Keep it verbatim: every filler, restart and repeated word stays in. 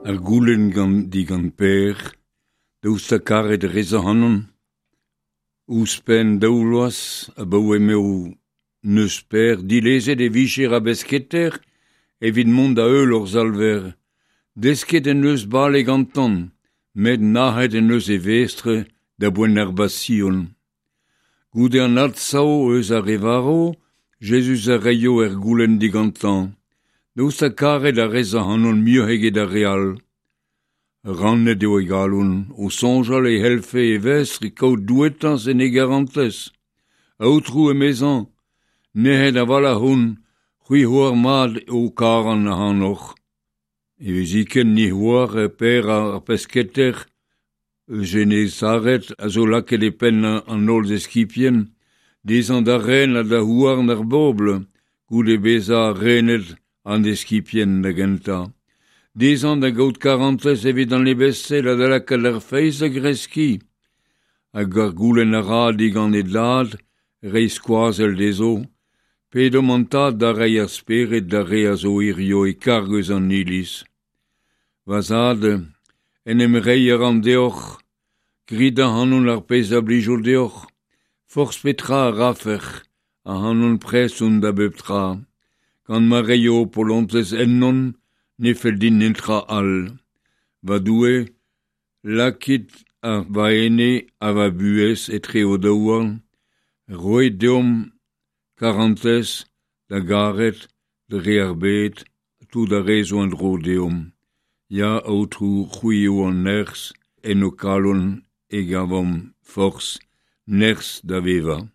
Ar goulenn gant digant Per, daoust ha karet rez ac'hanon. Ouzhpenn daou vloaz abaoe m'eo neus Per dilezet e vicher a besketer evit mont da heul hor Salver. Desket en deus bale gantañ, met nac'het en deus e vestr da boent ar Basion. Goude an adsav eus ar re varv, Jezuz a reio er goulenn digantañ. Daoust ha karet a rez ac'hanon muioc'h eget ar re all. Rannet eo e galon, o soñjal e c'hellfe e vestr kaout douetañs en e garantez. Aotrou emezañ, nec'het a-walc'h on, c'hwi oar mat eo karan ac'hanoc'h. Hiviziken ni oar Per ar pesketer eus Genezaret a zo lakaet e penn an holl eskibien, dezhañ da ren ha da houarn ar bobl, goude bezañ renet an eskibien da gentañ. Dezhañ da gaout karantez evit an ebestel ha da lakaat ar feiz da greskiñ. Hag ar goulenn a ra digant e dad reiñ skoazell dezho, pedomp an tad da reiñ ar spered d'ar re a zo hirio e karg eus an iliz. Va zad, en em reiñ a ran deoc'h, grit ac'hanon ar pezh a blijo deoc'h, forzh petra a rafec'h, ac'hanon prest on da bep tra. Gant ma reio ho polontez ennon, ne fell din netra all. Va Doue, lakit ar va ene ha va buhez etre ho daouarn, roit deomp karantez da garet dre ar bed tout ar re zo en-dro deomp. Ya, Aotrou, c'hwi eo an nerzh, en ho kalon e gavomp forzh, nerzh da vevañ.